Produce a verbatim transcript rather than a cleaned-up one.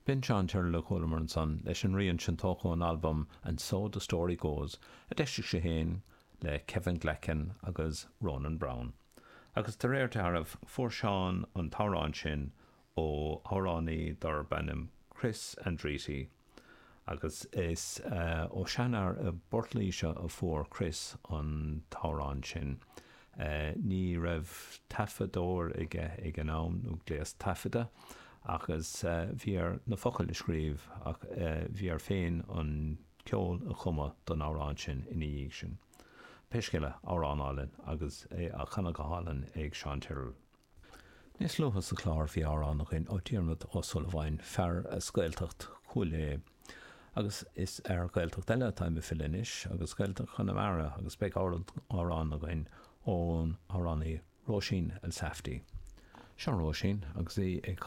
B'in Seán Tyrrell a chualamar ansan leis an rian sin tógtha ón albam And So the Story Goes a d'eisigh sé féin le Kevin Glackin agus Ronan Browne. Agus de réir dealraimh fuair Seán an t-amhrán sin ó amhránaí darb ainm Chris Andrietti. agus is uh, ó seanfhear i bPort Laoise a fuair Chris an t-amhrán sin. Uh, ní raibh taifeadóir aige ag an am nó gléas taifeadta agus uh, bhí air na focail a scríobh ach uh, bhí air féin an ceol a chumadh don amhrán sin ina dhiaidh sin. Pé scéal é amhrán álainn agus é á chanadh go hálainn ag Seán Tyrrell. Níos luaithe sa chlár bhí amhrán againn ó Diarmuid Ó Súilleabháin fear as Gaeltacht Chúil Aodha. Agus is ar Ghaeltacht eile atá mé ag filleadh agus Gaeltacht Chonamara agus beidh amhrán againn ón amhránaí Róisín Elsafty. Seo Róisín agus í ag